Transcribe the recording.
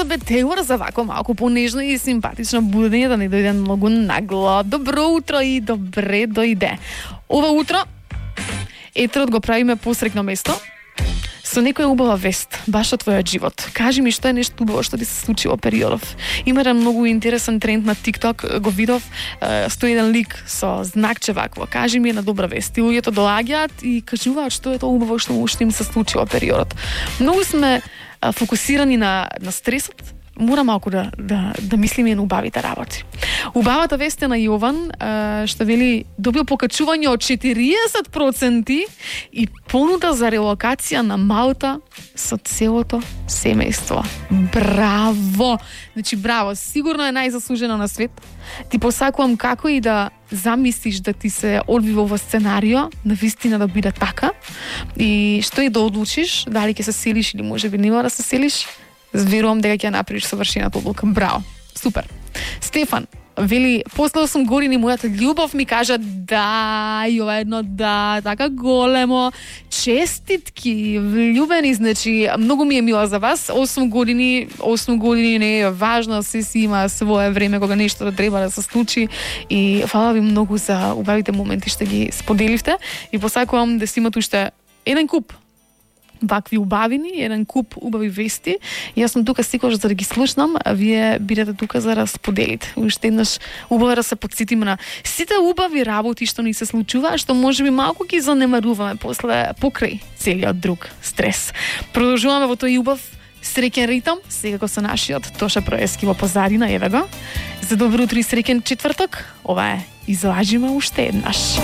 Елизабет Тейлор за вако малку понежно и симпатично будење, да не дојде многу нагло. Добро утро и добре дојде. Ова утро етерот го правиме посрекно место со некоја убава вест, баш од твојот живот. Кажи ми што е нешто убаво што ти се случи во периодов. Има еден многу интересен тренд на TikTok, го видов, стои еден лик со знакче вакво. Кажи ми една добра вест. И луѓето доаѓаат и кажуваат што е тоа убаво што им се случи во периодот. Многу сме фокусирани на стресот. Мора малку да мислиме и на убавите работи. Убавата вест е на Јован, што вели добил покачување од 40% и понуда за релокација на Малта со целото семејство. Браво! Значи, браво, сигурно е најзаслужено на свет. Ти посакувам како и да замислиш да ти се одвива ова сценарио, навистина да биде така. И што и да одлучиш, дали ќе се селиш или можеби нема да се селиш, верувам дека ќе направиш совршената одлука. Браво. Супер. Стефан вели, после 8 години мојата љубов ми кажа да, и ова едно да, така големо. Честитки, влюбени, значи, многу ми е мила за вас. 8 години не е важно, се си има свое време кога нешто да треба да се случи и фала ви многу за убавите моменти што ги споделивте и посакувам да си имате уште еден куп вакви убавини, еден куп убави вести. Јас сум тука секогаш за да ги слушнам, а вие бидете тука за да споделите. Уште еднаш убаво да се потсетиме на сите убави работи што ни се случува, што можеби малку ги занемаруваме покрај целиот друг стрес. Продолжуваме во тој убав среќен ритам, секако со нашиот Тоша Проески во позадина, еве го. За добро утро и среќен четврток. Ова е Излажиме уште еднаш.